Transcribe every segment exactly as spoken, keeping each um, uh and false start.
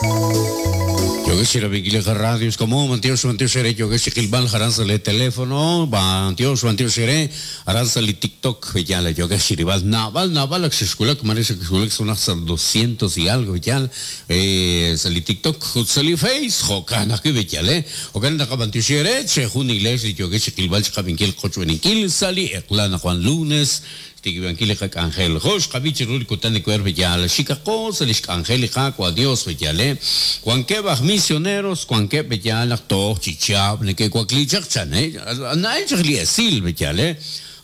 Yogesh Radio como Mantiox Mantiox Shere Yogesh Kilbal Haranza le teléfono Mantiox Mantiox Shere Haranza li TikTok ya la Yogesh Ribal Naval Naval Xkulak Marisha Xkulak son hasta doscientos y algo ya eh sali TikTok sali Face Jokana que ya le Jokana Mantiox Shere Che Jun Iglesia Yogesh Kilbal Chabinkil Qochwenikil sali Eklana Juan Lunes Tigibankil Angel Josh Kabichi Rul Kutani Cuerve ya la Chicago se les Angélica Cua Dios ya le Juan Kebaj misioneros Juan Kebe ya la to chichab ne que cuaclichak chan eh na esil ya le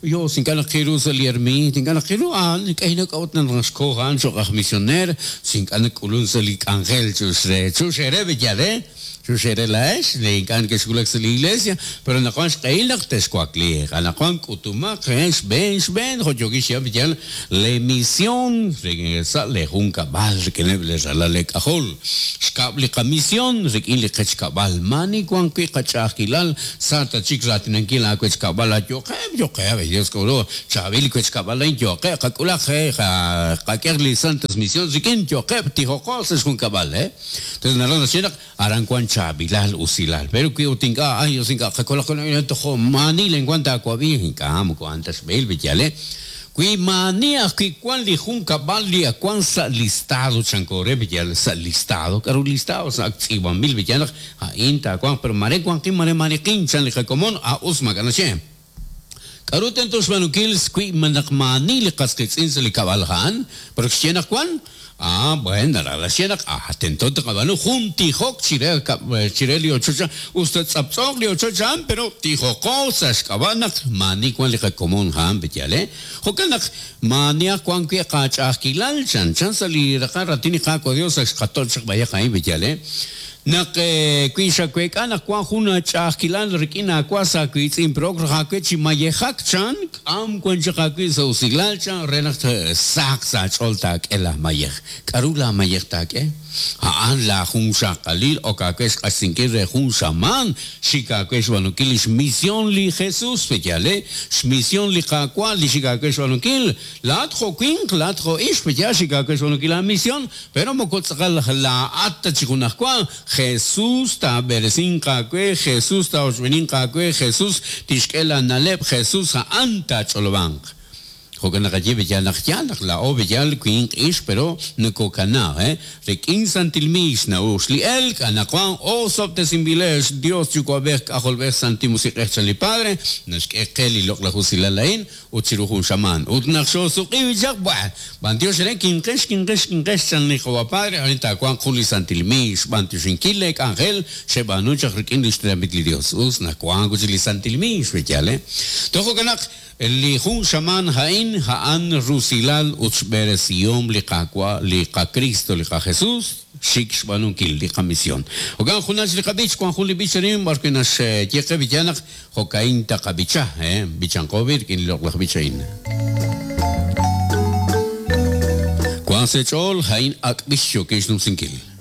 yo sin kana qiru sali ermi sin kana qiru an kayna kaut nan rasko han chokaj misioner sin kana kulun sali angel chusre chusere ya le Chusere la es, le encan que esculak la iglesia, pero na kwan xqailaq tescuacli, na kwan kutumaq, es ben, ben, joyogish ya le misión, regresa le junca bal, que le rala le cajol, xkabli ka misión, rekin le qechkabal, mani kwan qui qachaqilal, santa chikratinanquil a quechkabal, yo que, yo que, Dios cobro, chavil quechkabal, yo que, qakulaj, qakerli santas misión, rikin yo que, tijocos es juncabal, eh. Entonces, narana chinak, aran kwan chabilal usilal pero que utinga ay usinga qakola con tojo mani le encuentra aquabi cam cuantas bel bellale qui mania qui cuan li junca balia cuan sa listado chancore bellal sa listado caro listado sa activan mil bellal a inta cuan pero mare cuan qui mare mare quinchan li comón a usma ganache Karuten tos manukils qui manak mani li qasqitsin li kabalhan pero xena cuan Ah, bueno, la la ah, atento te cabano junti hok chire chire li ochocha usted zapzog li ochocha pero tijo cosas cabanak mani cuan li común han betiale hokanak mania cuan que qachaqilal chan chan sali raqaratini qaqo Dios axqatol chaq vaya betiale Nak kuisha kuekana kuan juna chaqilal rikina kuasa kuitzin progr hakechi mayehak chan am kuan chaqakui sausilal chan renaq sak sa choltak ela mayeh karula mayeh tak eh haan la jun shaqalil o kakesh qasinki re jun shaman shikakesh wanukil misión li Jesús peyale misión li qaqua li shikakesh wanukil la tjoquin la tjo ish peya shikakesh wanukil la misión pero mokotzqal la atta chikunaqua Jesús ta beresin qaque Jesús ta oshbenin qaque Jesús tishkela naleb Jesús anta cholobank Jokan nakaye beyal nak la o beyal kuin ish pero nukokana eh rekin santilmis na ushli el kanakuan o soptesimbilesh Dios yukuabek ajolbek santimusiqech li padre nashk'eqel lok la jusilalain uchiruju shaman utnaqsho suqiwijaq bua bantios ren kinqesh kinqesh kinqesh chan ni jowa padre ahorita kuan juli santilmis bantioshinkilek angel shebanuchaq rekin lishtramitli Dios us nakuan kuchili santilmis beyal eh tojokanak li jun shaman hain haan rusilal uchberesiom li qaqua li qa Cristo li qa Jesús shik xbanunkil li qa misión ogan junash li qabich kuan juli bicharim barque nash yeqe bichanak jokain ta qabicha eh bichanqobir kin loqlaj bichain kuan sechol hain akbisho kishnumsinkil.